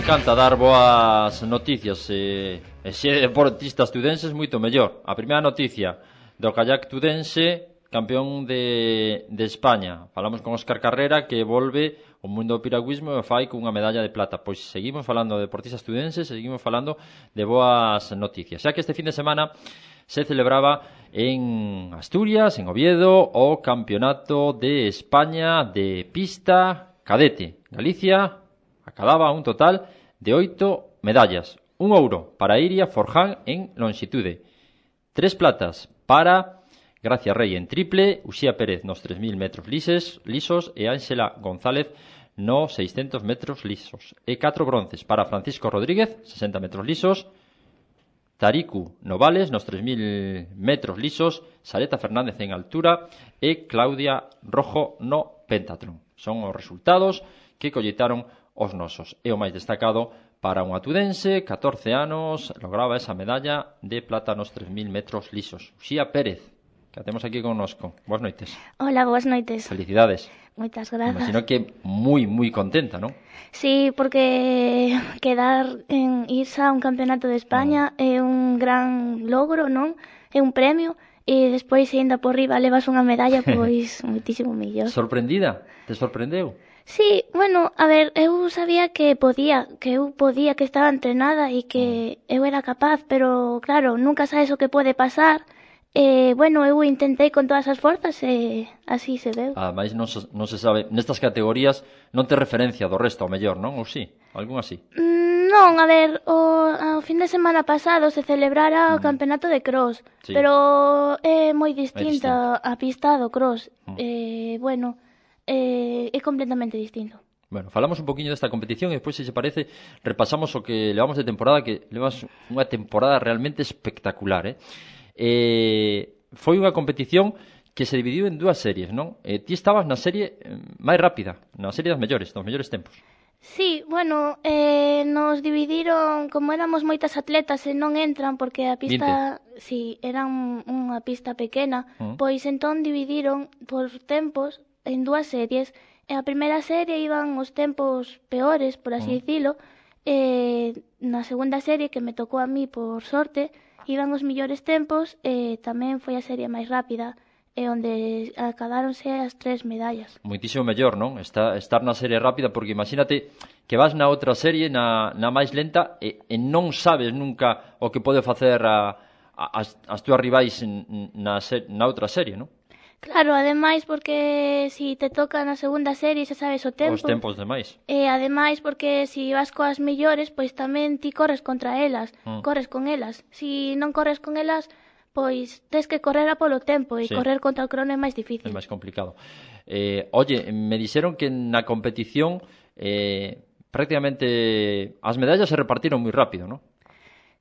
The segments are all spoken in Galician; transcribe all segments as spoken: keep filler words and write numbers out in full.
encanta dar boas noticias e, e se é deportistas tudenses moito mellor. A primeira noticia do kayak tudense, campeón de, de España. Falamos con Óscar Carrera, que volve o mundo do piragüismo e fai cunha medalla de plata. Pois seguimos falando de deportistas tudenses, seguimos falando de boas noticias. Xa que este fin de semana se celebraba en Asturias, en Oviedo, o Campeonato de España de pista cadete. Galicia acababa un total de oito medallas. Un ouro para Iria Forján en longitude. Tres platas para Gracia Rey en triple, Uxía Pérez nos tres mil metros lises, lisos e Ángela González no seiscentos metros lisos. E catro bronces para Francisco Rodríguez, sesenta metros lisos, Tariku Novales nos tres mil metros lisos, Sareta Fernández en altura e Claudia Rojo no pentatlón. Son os resultados que colletaron os nosos. E o máis destacado para unha tudense, catorce anos, lograba esa medalla de plata nos tres mil metros lisos. Uxía Pérez, que a temos aquí connosco. Boas noites. Hola, boas noites. Felicidades. Moitas grazas. Imagino que moi, moi contenta, non? Sí, porque quedar en irse a un campeonato de España mm. é un gran logro, non? É un premio. E despois, ainda por riba, levas unha medalla, pois, moitísimo mellor. Sorprendida? Te sorprendeu? Sí, bueno, a ver, eu sabía que podía, que eu podía, que estaba entrenada e que eu era capaz, pero, claro, nunca sabes o que pode pasar. E, bueno, eu intentei con todas as forzas e así se veu. Ademais, non se, non se sabe, nestas categorías non te referencia do resto, ao mellor, non? Ou sí? Algún así? Mm, non, a ver, o, o fin de semana pasado se celebrara o mm. campeonato de cross, sí. Pero é moi distinta a pista do cross. Mm. Eh, bueno... Eh, é completamente distinto. Bueno, falamos un poquinho desta competición e despois, se se parece, repasamos o que levamos de temporada, que levas unha temporada realmente espectacular, eh? eh foi unha competición que se dividiu en dúas series, non? Eh, ti estabas na serie máis rápida, na serie das mellores, dos mellores tempos. Sí, bueno, eh, nos dividiron, como éramos moitas atletas e non entran porque a pista, vinte. Si, era un, unha pista pequena, uh-huh. Pois entón dividiron por tempos en dúas series. En a primeira serie iban os tempos peores, por así uh-huh. dicilo, e na segunda serie, que me tocou a mí por sorte, iban os millores tempos e tamén foi a serie máis rápida, e onde acadáronse as tres medallas. Moitísimo mellor, non? Está, estar na serie rápida, porque imagínate que vas na outra serie, na, na máis lenta, e, e non sabes nunca o que pode facer a, a, as, as túas rivais na, na outra serie, non? Claro, ademais porque si te toca na segunda serie xa sabes o tempo. Os tempos demais. E ademais porque si vas coas mellores, pois tamén ti corres contra elas, mm. corres con elas. Si non corres con elas, pois tes que correr a polo tempo e sí. correr contra o crono é máis difícil. É máis complicado. Eh, oye, me dixeron que na competición eh, prácticamente as medallas se repartiron moi rápido, non?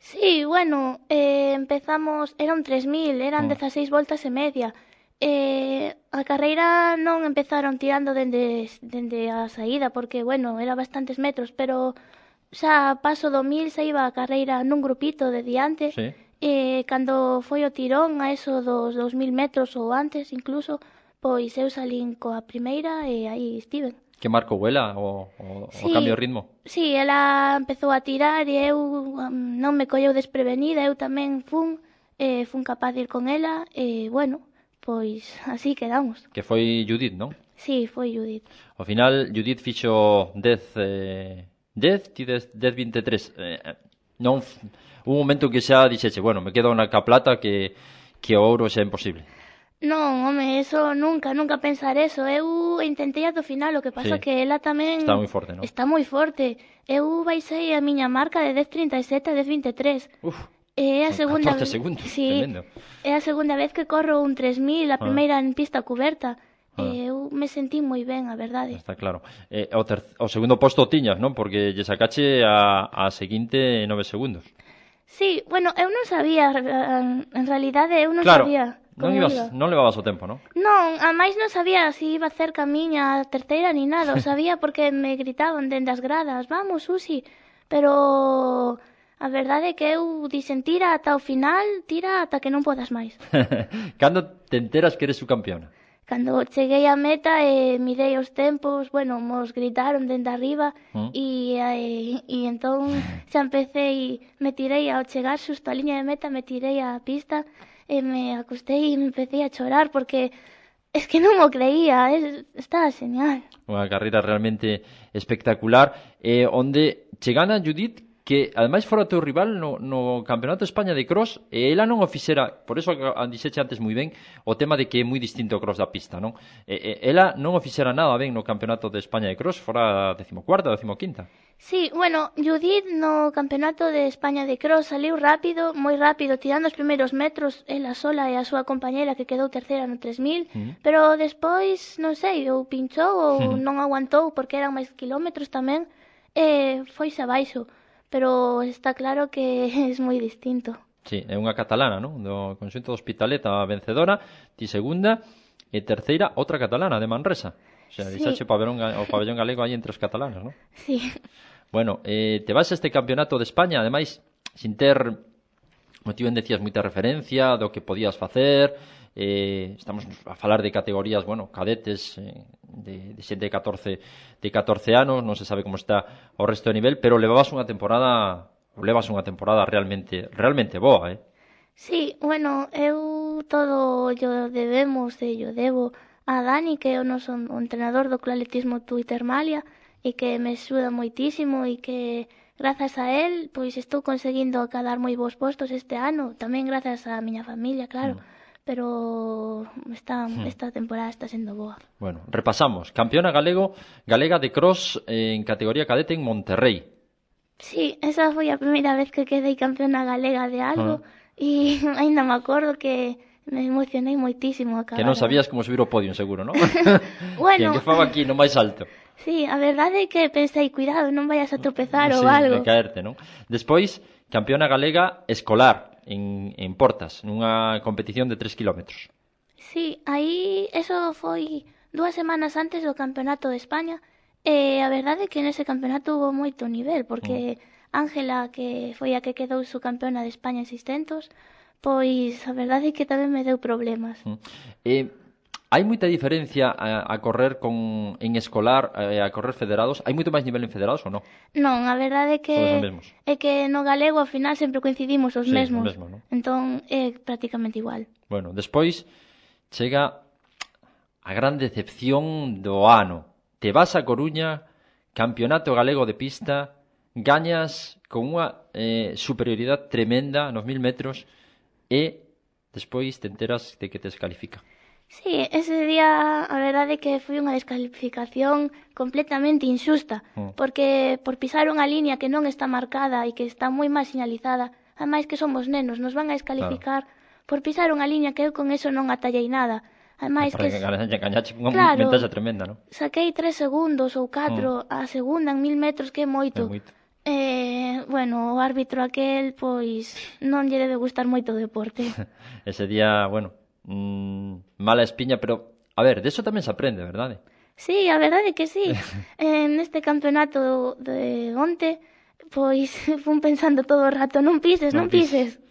Sí, bueno, eh, empezamos, eran tres mil, eran mm. dezaseis voltas e media. Eh, a carreira non empezaron tirando dende, dende a saída porque, bueno, era bastantes metros, pero xa paso do mil xa iba a carreira nun grupito de diante. Sí. E cando foi o tirón a eso dos dos mil metros ou antes incluso, pois eu salín coa primeira e aí estiven. Que marcou ela o, o, sí, o cambio de ritmo? Sí, ela empezou a tirar e eu um, non me colleu desprevenida, eu tamén fun, eh, fun capaz de ir con ela e, bueno, pois así quedamos. Que foi Judith, non? Sí, foi Judith. Ao final, Judith fixo dez, eh, dez, ti dez, dez vinte e tres. Eh, non, un momento que xa dixeche, bueno, me quedo na caplata que, que o ouro xa é imposible. Non, home, eso nunca, nunca pensar eso. Eu intentei ado final, o que pasa sí. que ela tamén... Está moi forte, non? Está moi forte. Eu baixei a miña marca de dez trinta e sete a dez vinte e tres. Uf. É a segunda catorce segundos, sí, tremendo. É a segunda vez que corro un tres mil, a primeira ah. en pista cuberta. Ah. E eu me sentí moi ben, a verdade. Está claro. Eh, o, ter... o segundo posto tiñas, non? Porque lle sacache a, a seguinte nove segundos. Sí, bueno, eu non sabía, en realidade eu non claro. sabía. Non, ibas, iba. non levabas o tempo, non? Non, a máis non sabía se iba cerca a miña a terceira ni nada. O sabía porque me gritaban dende as gradas, vamos, Susi. Pero... a verdade é que eu dixen tira ata o final, tira ata que non podas máis. Cando te enteras que eres subcampeona? Cando cheguei á meta e eh, mirei os tempos, bueno, mos gritaron dende arriba Mm. e, eh, e entón xa empecé, me tirei ao chegar xusto á liña de meta, me tirei á pista e me acostei e me empecé a chorar porque es que non o creía, es, estaba genial. Unha carreira realmente espectacular, eh, onde che gana Judith, que ademais fora o teu rival no, no Campeonato de España de cross, e ela non o fixera, por eso dixeche antes moi ben o tema de que é moi distinto o cross da pista, non? E, e, ela non o fixera nada ben no Campeonato de España de cross, fora a decimocuarta, decimoquinta. Sí, bueno, Judith no Campeonato de España de cross saliu rápido, moi rápido, tirando os primeiros metros ela sola e a súa compañera que quedou terceira no tres mil, Mm. pero despois, non sei, ou pinchou ou Mm. non aguantou porque eran máis kilómetros tamén, e foise abaixo, pero está claro que é moi distinto. Sí, é unha catalana, non? Do conxunto do Hospitalet, a vencedora, ti segunda, e terceira, outra catalana, de Manresa. O sea, Sí. deixaxe o pabellón, ga- o pabellón galego aí entre os catalanas, non? Sí. Bueno, eh, te vas a este campeonato de España, ademais, sin ter, como ti ben decías, moita referencia do que podías facer, eh, estamos a falar de categorías, bueno, cadetes, eh, de, de xente de catorce, de catorce anos, non se sabe como está o resto de nivel, pero levabas unha temporada, levas unha temporada realmente, realmente boa, eh? Sí, bueno, eu todo yo debemos e yo debo a Dani, que é o noso o entrenador do Club Atletismo Tuitermalia e que me axuda moitísimo e que grazas a él pois estou conseguindo acadar moi bons postos este ano, tamén grazas á miña familia, claro, Mm. pero esta, esta temporada está sendo boa. Bueno, repasamos. Campeona galego, galega de cross en categoría cadete en Monterrey. Sí, esa foi a primeira vez que quedei campeona galega de algo e aínda me acordo que me emocionei moitísimo a acabar. Que non sabías como subir o podio, seguro, non? Bueno. Que, que fago aquí no máis alto. Sí, a verdade é que pensei, cuidado, non vayas a tropezar Sí, ou algo. de caerte, non? Despois, campeona galega escolar en, en Portas, nunha competición de tres kilómetros. Sí, aí eso foi dúas semanas antes do Campeonato de España e a verdade é que nese campeonato hubo moito nivel porque Ángela, que foi a que quedou subcampeona de España en seiscentos, pois a verdade é que tamén me deu problemas. Mm. Eh, hai moita diferencia a, a correr con en escolar e a correr federados? Hai moito máis nivel en federados ou non? Non, a verdade é que Son os mesmos. é que no galego ao final sempre coincidimos os Sí, mesmos. o mesmo, non? Entón é prácticamente igual. Bueno, despois chega a gran decepción do ano. Te vas a Coruña, campeonato galego de pista, gañas con unha eh, superioridade tremenda nos mil metros e despois te enteras de que te descalifica. Sí, ese día a verdade é que foi unha descalificación completamente injusta, Mm. porque por pisar unha liña que non está marcada e que está moi mal sinalizada, ademais que somos nenos, nos van a descalificar por pisar unha liña que eu con eso non atallei nada. Ademais Para que que gañache, gañache unha Claro. ventaxa tremenda, non? saquei tres segundos ou catro a segunda en mil metros, que é moito. É moito. Eh, bueno, o árbitro aquel, pois, non lle debe gustar moito o deporte. Ese día, bueno, mmm, mala espiña, pero a ver, de eso tamén se aprende, verdade? Sí, a verdade é que sí. En este campeonato de onte, pois fun pensando todo o rato, non pises, non, Non pises. pises.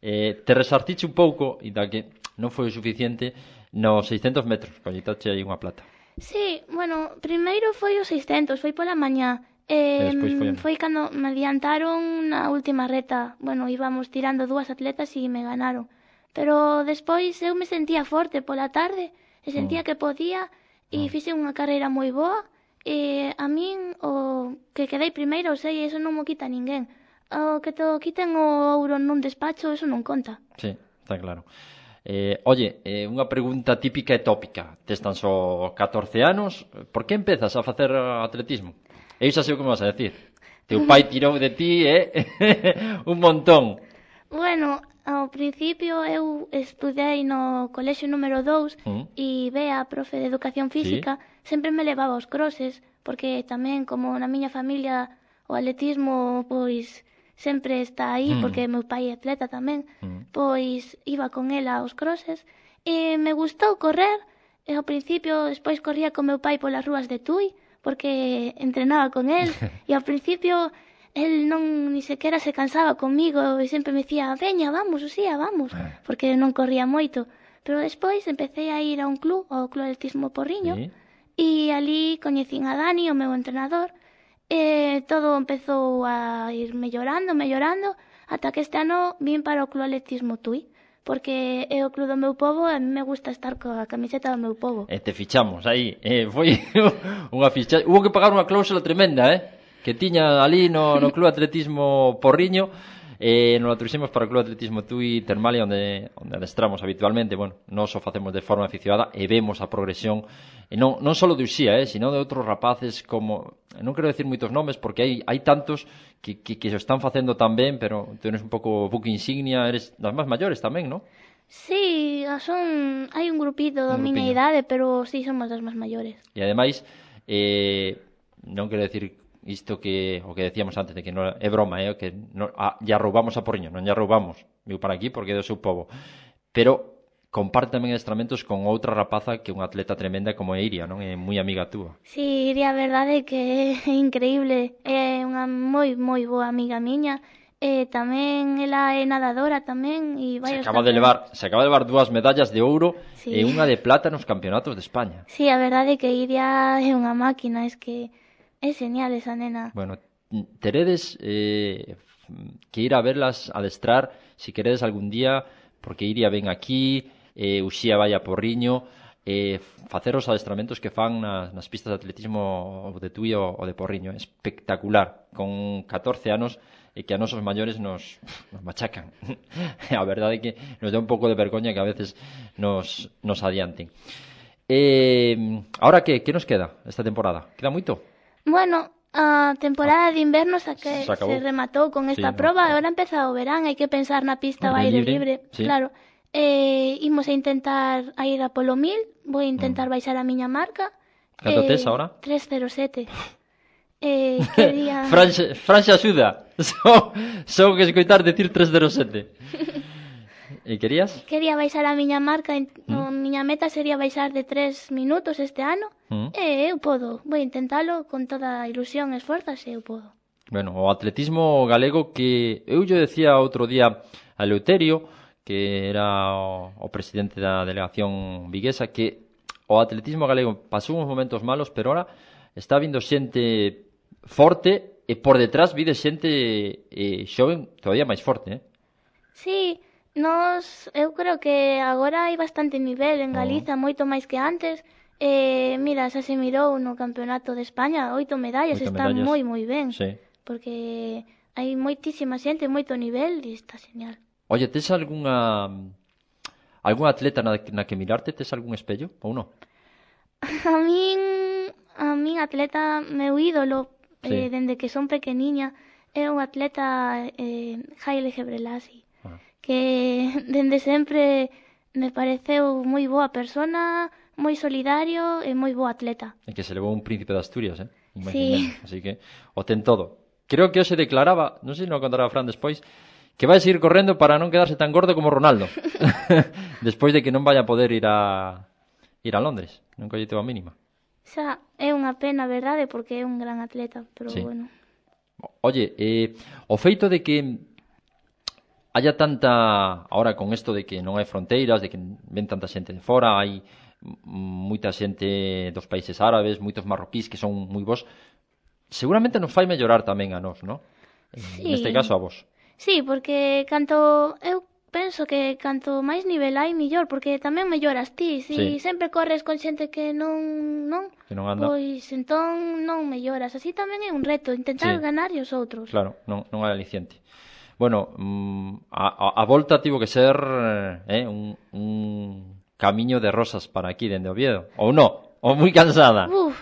Eh, te resartiche un pouco, e da que non foi o suficiente, nos seiscentos metros, collitache aí unha plata. Sí, bueno, primeiro foi os seiscentos, foi pola mañá. E Eh, despois foi a- foi cando me adiantaron na última reta. Bueno, íbamos tirando dúas atletas e me ganaron. Pero despois eu me sentía forte pola tarde e sentía Mm. que podía e fixe unha carreira moi boa. E a min o que quedei primeiro, o sei, eso non mo quita ninguén. O que te o quiten o ouro nun despacho, eso non conta. Sí, está claro. Eh, oye, eh, unha pregunta típica e tópica. Tes tan só catorce anos, por que empezas a facer atletismo? Eu xa sei o que me vas a decir. Teu pai tirou de ti, eh? un montón. Bueno, ao principio eu estudei no colexio número dous Mm. e Bea, a profe de educación física, sempre me levaba aos crosses, porque tamén como na miña familia o atletismo pois sempre está aí, Mm. porque meu pai é atleta tamén, Mm. pois iba con ela aos crosses e me gustou correr, e ao principio despois corría con meu pai polas rúas de Tui, porque entrenaba con el, e ao principio el non ni sequera se cansaba comigo e sempre me dicía, veña, vamos, Uxía, vamos, porque non corría moito. Pero despois empecé a ir a un club, ao Club Atletismo Porriño, Sí. e ali coñecín a Dani, o meu entrenador, e todo empezou a ir mellorando, mellorando, ata que este ano vin para o Club Atletismo Tui, porque é o club do meu pobo e a mí me gusta estar coa camiseta do meu pobo. E te fichamos aí, eh, foi unha ficha, hubo que pagar unha cláusula tremenda, eh, que tiña ali no, no Club Atletismo Porriño, e nos la trouxemos para o Club Atletismo Tui Termalia, onde, onde adestramos habitualmente. Bueno, nós o facemos de forma aficionada e vemos a progresión, e non, non só de Uxía, eh, sino de outros rapaces como, non quero decir moitos nomes porque hai, hai tantos que, que, que se están facendo tan ben, pero tú eres un pouco buque insignia, eres das máis maiores tamén, non? Sí, son hai un grupito da Un miña grupiño. idade, pero sí somos das máis maiores. E ademais, eh, non quero decir isto que o que decíamos antes de que non é broma, eh, que non, ah, ya roubamos a Porriño, non ya roubamos, viu para aquí porque é do seu povo. Pero comparte tamén adestramentos con outra rapaza que é unha atleta tremenda como é Iria, non? É moi amiga túa. Sí, Iria, a verdade é que é increíble, é unha moi moi boa amiga miña, e tamén ela é nadadora tamén e vai Se aos acaba de campeonatos. levar, se acaba de levar dúas medallas de ouro Sí. e unha de plata nos campeonatos de España. Sí, a verdade é que Iria é unha máquina, es que é genial esa nena. Bueno, teredes eh, que ir a verlas adestrar, si queredes algún día, porque Iria ven aquí, eh, Uxía vai a Porriño, eh, facer os adestramentos que fan nas, nas pistas de atletismo o de Tui ou o de Porriño. Espectacular, con catorce anos, e que a nosos maiores nos, nos machacan. A verdade é que nos dá un pouco de vergoña que a veces nos, nos adianten. Eh, ahora que, que nos queda esta temporada? Queda moito? Bueno, a temporada de inverno xa que Se acabou. se rematou con esta Sí, no, proba, no. agora empeza o verán, hai que pensar na pista ao Ao aire aire libre, libre, sí. claro. Eh, imos a intentar a ir a polo mil, vou a intentar Mm. baixar a miña marca. Canto eh, tes ahora? tres cero sete. Eh, quería... Fran, Fran xa axuda. Só, só que escoitar decir tres cero sete. E querías? Quería baixar a miña marca, en- Mm. a miña meta sería baixar de tres minutos este ano, Mm. e eu podo, vou intentalo con toda a ilusión e esforzas e eu podo. Bueno, o atletismo galego que eu lle decía outro día a Eleuterio, que era o, o presidente da delegación viguesa, que o atletismo galego pasou uns momentos malos, pero ahora está vindo xente forte e por detrás vide xente eh, xoven todavía máis forte, eh? Sí, nos, eu creo que agora hai bastante nivel en Oh. Galiza, moito máis que antes. Eh, mira, xa se mirou no Campeonato de España, oito medallas, Oito está medallas. moi moi ben, Sí. porque hai moitísima xente, moito nivel e está genial. Oye, tes algunha algún atleta na, na que mirarte? Tes algún espello ou non? A min, a min atleta, meu ídolo, Sí. eh, dende que son pequeniña, é un atleta eh, Haile Gebrselassie, Ah. que dende sempre me pareceu moi boa persona, moi solidario e moi boa atleta. E que se levou un príncipe de Asturias, eh? Sí. Imagínate. Así que o ten todo. Creo que hoxe declaraba, non sei se non o contará Fran despois, que vai seguir correndo para non quedarse tan gordo como Ronaldo. Despois de que non vaya a poder ir a ir a Londres. Non colliteu a mínima. Xa é unha pena, verdade, porque é un gran atleta, pero Sí. bueno. Oye, eh, o feito de que haya tanta, ahora con isto de que non hai fronteiras, de que ven tanta xente de fora, hai m- moita xente dos países árabes, moitos marroquíes que son moi bons, seguramente nos fai mellorar tamén a nós, non? Sí. Neste caso a vos. Sí, porque canto eu penso que canto máis nivel hai, millor, porque tamén melloras ti. Si Sí. sempre corres con xente que non, non, Que non anda. pois entón non melloras. Así tamén é un reto, intentar Sí. ganar e os outros. Claro, non, non hai aliciente. Bueno, mm, a, a, a volta tivo que ser eh, un, un camiño de rosas para aquí, dende Oviedo. Ou non? Ou moi cansada? Uf,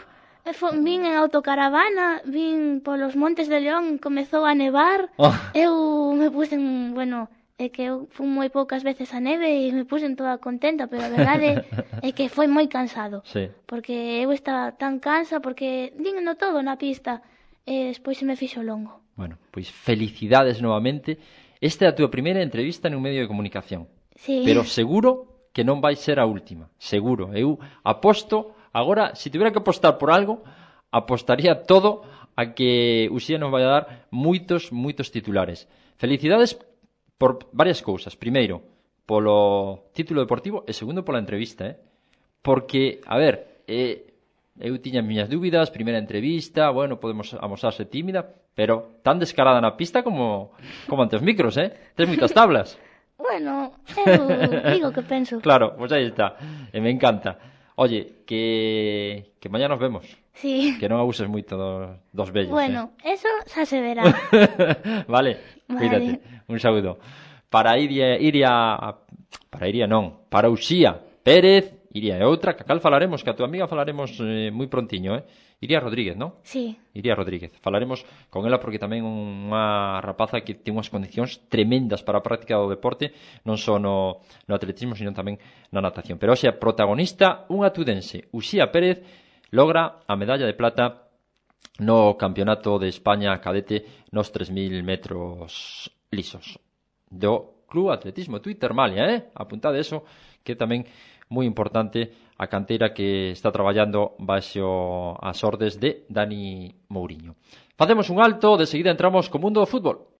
e fo, vin en autocaravana, vin polos Montes de León, comezou a nevar. Oh. Eu me puxen, bueno, é que eu fui moi poucas veces a neve e me puxen toda contenta, pero a verdade é que foi moi cansado. Sí. Porque eu estaba tan cansa, porque dígno todo na pista, e despois se me fixo longo. Bueno, pois felicidades novamente. Esta é a túa primeira entrevista nun medio de comunicación. Sí. Pero seguro que non vai ser a última. Seguro. Eu aposto, agora, se tivera que apostar por algo, apostaría todo a que Uxía nos vai a dar moitos, moitos titulares. Felicidades por varias cousas. Primeiro, polo título deportivo e segundo pola entrevista, eh? Porque, a ver, eh, eu tiña as miñas dúbidas, primeira entrevista, bueno, podemos amosarse tímida, pero tan descarada na pista como, como ante os micros, eh? Tes moitas tablas. Bueno, eu digo que penso. Claro, pois aí está, e me encanta. Oye, que, que mañá nos vemos. Sí. Que non abuses moito dos, dos vellos, Bueno, eh? eso xa se verá. Vale, Vale. cuídate, un saúdo. Para Iria, Iria, para Iria non, para Uxía Pérez, Iria é outra, que a cal falaremos, que a tua amiga falaremos eh, moi prontiño, eh? Iria Rodríguez, non? Sí. Iria Rodríguez. Falaremos con ela porque tamén unha rapaza que ten unhas condicións tremendas para a práctica do deporte, non só no, no atletismo, sino tamén na natación. Pero hoxe a protagonista, unha tudense, Uxía Pérez, logra a medalla de plata no Campeonato de España cadete nos tres mil metros lisos do Club Atletismo Twitter Malia, eh? Apuntade eso, que tamén moi importante a canteira que está traballando baixo as ordes de Dani Mouriño. Facemos un alto, de seguida entramos co mundo do fútbol.